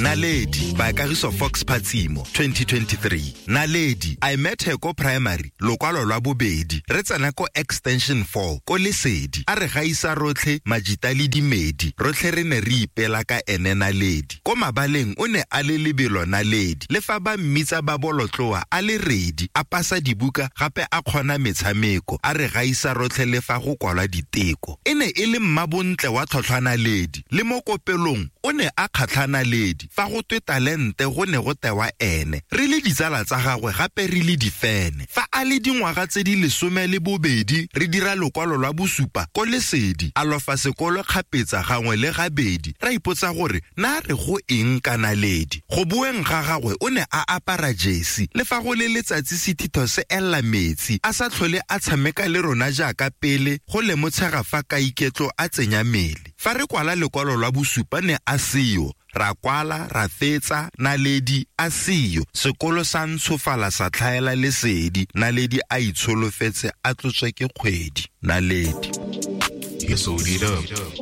Naledi by Kagiso Fox Phatsimo, 2023. Naledi, I met her ko primary, lokwalo lwa bobedi. Re tsena ko extension 4, ko Lesedi. A re gaisa rotlhe majita le dimedi. Rotlhe re ne re ipela ka ene Naledi. Ko mabaleng o ne a le lebelo Naledi. Le fa ba mmitsa ba bolotloa a le redi, a pasa dibuka gape a kgona metshameko. A re gaisa rotlhe le fa go kwalwa diteko. E ne e le mmabontle wa tlhotlhwa Naledi. Le mo kopelong o ne a kgatlha Naledi. Fa go twe talente go ne go tewa ene. Re le ditsala tsa gagwe gape re le difene. Fa a le dingwaga tse di 12 re dira lokwalo lwa bosupa ko Lesedi. A lofa sekolo kgapetsa gangwe le gabedi. Ra ipotsa gore na re go eng ka Naledi. Go boeng ga gagwe o ne a apara jesi. Le fa go le letsatsi sethitho se ella metsi. A sa tlhole a tshameka le rona jaaka pele go lemotshega fa ka iketlo a tsenya mele. Fa re kwala lekwalo lwa bosupa ne a seyo. Ra kwala, ra fetsa, Naledi a seyo. Sekolo sa ntshofala sa tlhaela lesedi. Naledi a itsholofetse a tlotswe ke kgwedi. Naledi. You sold it up.